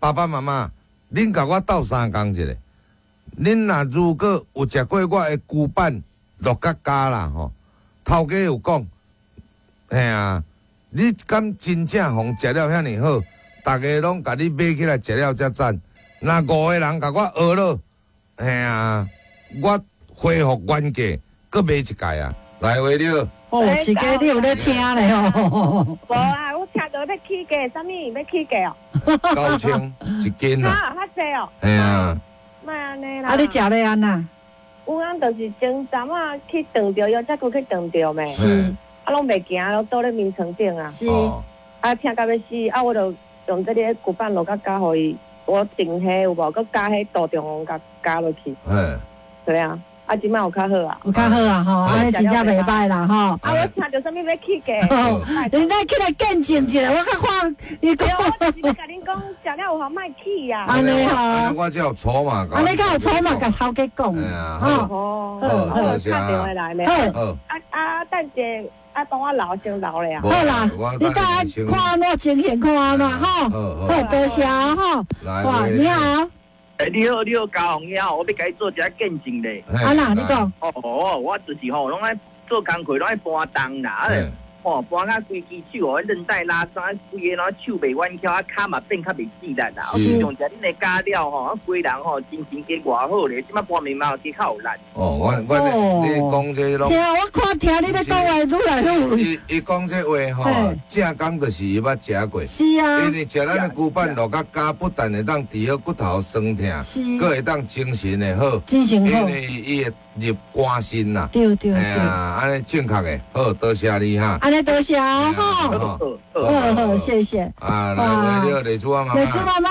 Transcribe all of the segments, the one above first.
爸爸媽媽，恁共我鬥相共一下，恁若如果有食過我的龜板鹿角膠啦吼，頭家有講，嘿啊，你敢真正予食了遐爾好，逐家攏共你買起來食了才讚。若五个人共我學落，嘿啊，我恢復原價，閣買一蓋啊！來，話了。哦，是家你有咧聽咧哦。無啊，我聽到欲起價，啥物欲起價哦？9000一斤啊！較濟哦。嘿啊。莫按呢啦。啊，你食咧按怎？有通就是前陣仔去斷著腰，這久去斷著未？是。啊，攏袂行，攏倒咧眠床頂啊。是。啊，疼甲欲死，啊，我就用這個龜板鹿角膠予伊，我定彼有無？閣加彼杜仲黃共加落去。對啊。啊，這擺有較好啊，有較好啊，吼，按呢真正袂䆀啦，吼。啊，我聽著啥物欲起價？你來起來見證一下，我較看伊講。我就是欲共恁講，食了有法莫起啊。按呢吼。按呢我才有籌碼。按呢較有籌碼，共頭家講。吼。好，好，打電話來咧。好。啊啊，等者啊，幫我留先留咧啊。好啦，你等下看按怎情形，看按怎吼。好，多謝吼。哇，你好。欸，你好，你好，嘉宏兄，我欲共你做一下見證咧。啊啦，你講。哦，我就是吼，攏愛做工課，攏愛搬重啦，啊，吼，搬甲規支手哦，韌帶拉傷，規个攏手袂彎翹，啊，跤嘛變較袂糋力啦。我自從食恁的膠了吼，啊，規人吼精神加偌好咧，這擺搬物嘛加較有力。哦，我你講這攏。聽我看聽你咧講話愈來愈。伊伊講這話吼，正講就是伊捌食過。是啊。因為食咱的龜板鹿角膠，不但會當治好骨頭酸痛，閣會當精神會好。精神好。因為伊會入肝腎啦。對對對。啊，按呢正確的，好，多謝你哈。按呢多謝吼。好好，謝謝。啊，來，為了麗珠媽媽。麗珠媽媽。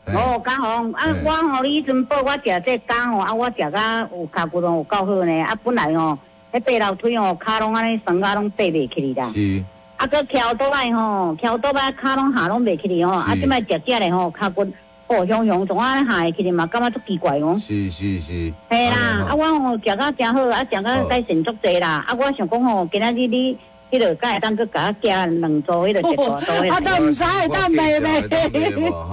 哦，嘉宏，啊，我吼，你彼陣報我食這膠吼，啊，我食甲有跤骨攏有夠好呢。啊，本來吼，彼爬樓梯吼，跤攏按呢酸甲攏爬袂起來啦。是。啊，閣翹倒來吼，翹倒來跤攏下攏袂起來吼。啊，這擺食食咧吼，跤骨哦，雄雄總按呢下會起來嘛，感覺足奇怪哦。是是是。嘿啦，啊，我吼食甲誠好，啊，食甲改善足濟啦。啊，我想講吼，今仔日你彼個敢會當閣共我寄兩組，彼個一大組。啊，都毋知會當賣袂？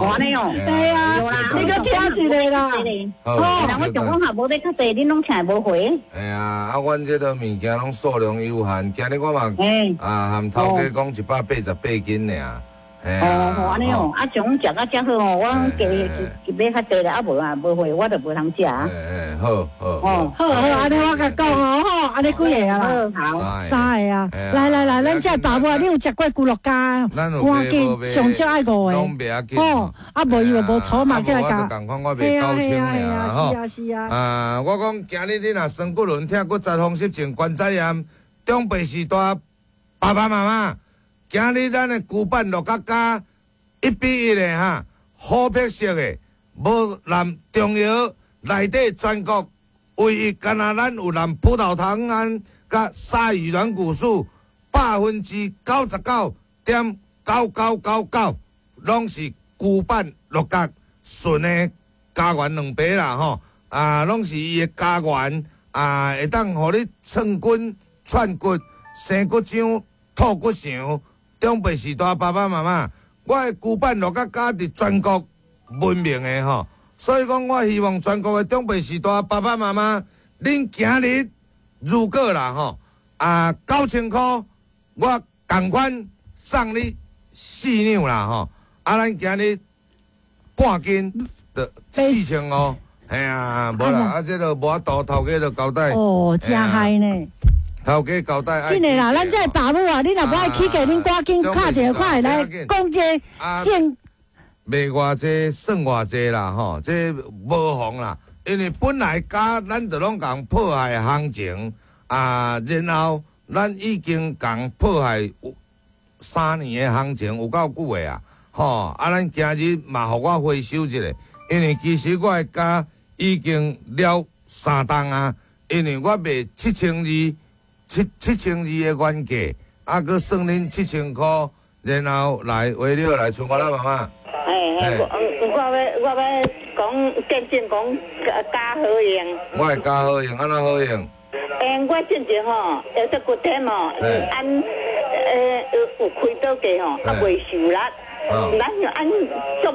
按呢哦。對啊，你閣聽一下啦。哦，我想講哈，無欲較濟，恁攏請無回。嘿啊，啊，阮這个物件攏數量有限，今日我嘛啊，含頭家講188斤爾。哦，好，按呢哦，啊，像食甲遮好哦，我加買較濟啦，啊無啊，無貨我就無通食。欸欸，好好。哦，好好，按呢我共講哦，吼，按呢幾个啊啦？好，三个啊。來來來，咱這爸母，你有食過龜鹿膠？趕緊，上少愛五個。吼，啊無伊就無籌碼起來共。我共款，我賣9000爾，吼。是啊是啊。啊，我講今日你若酸骨輪、疼骨折、風濕症、關節炎、長輩時代爸爸媽媽。今日咱的龜板鹿角膠1比1的哈，琥珀色的，無含中藥，內底全國唯一干焦咱有含葡萄糖胺佮鯊魚軟骨素，99.9999%，攏是龜板鹿角純的膠原蛋白啦吼，啊，攏是伊的膠原啊，會當予你寸筋串骨、生骨漿、吐骨腸。長輩時代爸爸媽媽，我的龜板鹿角膠佇全國聞名的吼，所以講我希望全國的長輩時代爸爸媽媽，恁今日如果啦吼啊9000箍，我仝款送你4兩啦吼，啊，咱今日半斤就4500，嘿啊，無啦，啊，這个無法度，頭家就交代。哦，真害呢。頭家交代。緊的啦，咱這爸母啊，你若無愛起價，恁趕緊敲一個看會來講這個。賣偌濟算偌濟啦，吼，這無妨啦，因為本來膠咱就攏共破壞行情啊，然後咱已經共破壞有3年的行情有夠久的啊，吼，啊，咱今日嘛予我回收一下，因為其實我的膠已經了3冬啊，因為我賣7200。7200的原價，啊，閣算恁7000箍，然後來為了來剩我啦媽媽。嘿嘿，我欲講見證講膠好用。我的膠好用，按怎好用？欸，我進前吼，腰脊骨疼吼，按有開刀過吼，啊袂受力，咱按足無。